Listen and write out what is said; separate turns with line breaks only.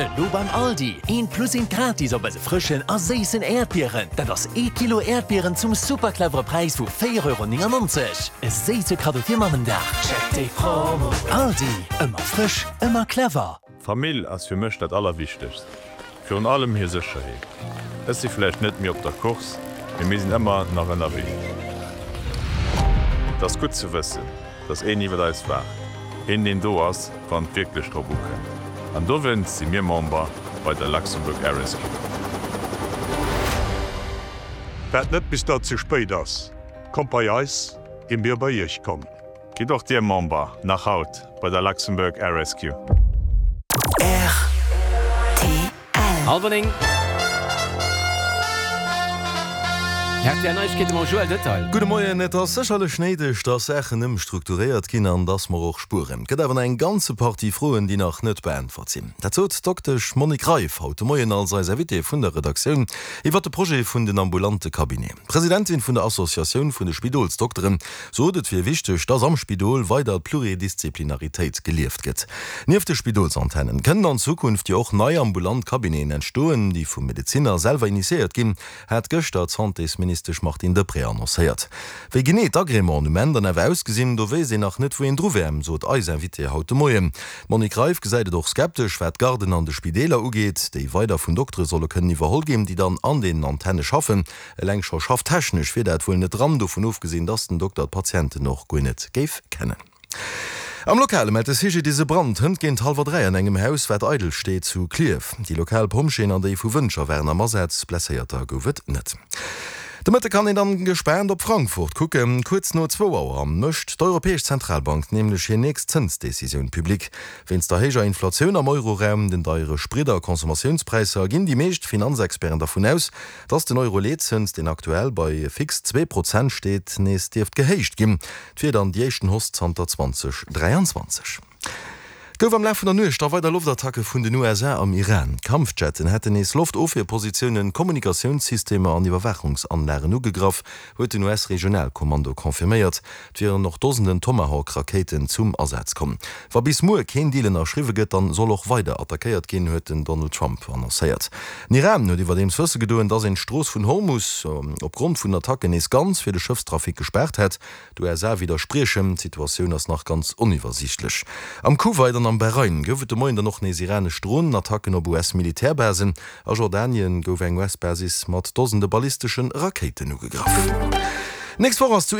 Elo beim Aldi, eent plus eent gratis op eise frëschen a séissen Äerdbieren. Dat ass ee Kilo Äerdbieren zum super clevere Präis vu 4,99 Euro. E séisse Kaddo fir Mammendag. Check déi Promo! Aldi, ëmmer frësch, ëmmer clever.
Famill ass fir mech dat Allerwichtegst, virun allem hir Sécherheet. Ech si vläicht net méi op der Course, mee mir sinn ëmmer nach ënnerwee. Et ass gutt ze wëssen, dass een iwwert eis waacht, een deen do ass, wann et wierklech drop ukënnt. An dowéinst si mir Member bei der Luxembourg Air Rescue.
Waart net bis dat ze spéit ass, kommt bei eis, ier mir bei iech kommen.
Gitt och Dir Member, nach haut, bei der Luxembourg Air Rescue.
Rtl.
Halwer 9. Rtl Neiegkeete mam Joël Detail.
Gudde Moien. Et ass sécherlech néideg, dass Saachen ëmstrukturéiert ginn an dass mer och spueren. Et gëtt awer nach eng ganze Partie Froen, déi nach net beäntwert sinn. Dat sot d'Doktesch Monique Reiff haut de Moien als eis Invitée vun der Redaktioun iwwert de Projet vun den ambulante Cabineten. D'Presidentin vun der Associatioun vun de Spidolsdokteren sot, et wier wichteg, dass am Spidol weider d'Pluridisziplinaritéit gelieft gëtt. Nieft de Spidolsantennen kënnen an Zukunft jo och nei ambulant Cabineten entstoen, déi vum Medezinner selwer initiéiert ginn, hat gëschter d'Santésministesch Martine Deprez annoncéiert. Wéi genee d'Agrémenten um Enn dann awer ausgesinn, do wéisst een nach net, wou een dru wär, sot eis Invitée haut de Moien. D'Monique Reiff gesäit et och skeptesch, wat d'Garden an de Spideeler ugeet, déi weider vun Doktere solle kënnen iwwerholl ginn, déi dann an deenen Antenne schaffen. Eleng scho schafftechnesch wier dat wuel net dran, dovun ofgesinn, dass den Dokter d'Patienten och guer net géif kennen. Am Lokale mellt de CGDIS e Brand hënt géint hallwer 3 an engem Haus, wat eidel steet, zu Klierf. Déi lokal Pompjeeën an déi vu Wëntger waren am Asaz, Blesséierter gouf et net. De Mëtte kann een dann gespaant op Frankfurt kucken. Kuerz no zwou Auer mécht d'Europäesch Zentralbank nämlech hir nächst Zënsdecisioun public. Wéinst der héijer Inflatioun am Euroraum, den deiere Sprit a Consommatiounspräisser ginn déi meescht Finanzexperten dervun aus, Dass den Euro-Leetzëns, deen aktuell bei fix 2% steet, nees dierft gehéicht ginn. Et wier dann déi éischten Hausse zanter 2023. Et gouf am Laf vun der Nuecht da weider Loftattacke vun den USA am Iran. Kampfjetten hätten nees Loftofwierpositiounen, Kommunikatiounssystemer an Iwwerwaachungsanlagen ugegraff, huet den US-Regionalkommando confirméiert. Et wieren och Dosenden Tomahawk-Rakéiten zum Asaz komm. Wa bis muer keen Deal ënnerschriwwe gëtt, dann soll och weider attackéiert ginn, huet den Donald Trump annoncéiert. Den Iran huet iwwerdeems wësse gedoen, datt een d'Strooss vun Hormus opgrond vun den Attacken nees ganz fir de Schëffstrafic gespaart hätt. D'USA widderspriechen. D'Situatioun ass nach ganz oniwwersiichtlech. Am Kuwait an am Bahrain gouf et de Moien dann och nees iranesch Dronenattacken op US-Militärbasen. A Jordanien gouf eng US-Basis mat Dosende ballistesche Rakéiten ugegraff. Nächst Woch ass zu.